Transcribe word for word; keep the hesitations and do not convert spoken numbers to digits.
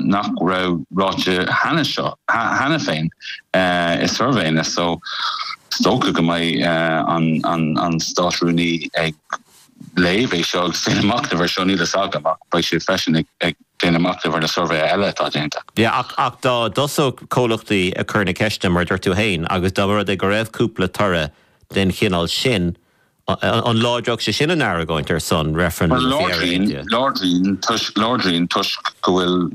nach raibh ráite cheana seo cheana féin i suirbhéanna so is dócha go mbeidh an an an Státrúnaí ag léamh é seo agus déanamh machnamh air seo níl a fhios agam ach beidh sé freisin ag ag déanamh machnamh ar na suirbhéanna eile atá déanta. Yeah, ach ach dá dtosódh comhlachtaí ag cur na ceiste mar dúirt tú féin agus dá rud é go raibh cúpla toradh den chineál sin an láidreodh sé sin an argóint ar son referendum Láidríonn toisc láidríonn toisc go bhfuil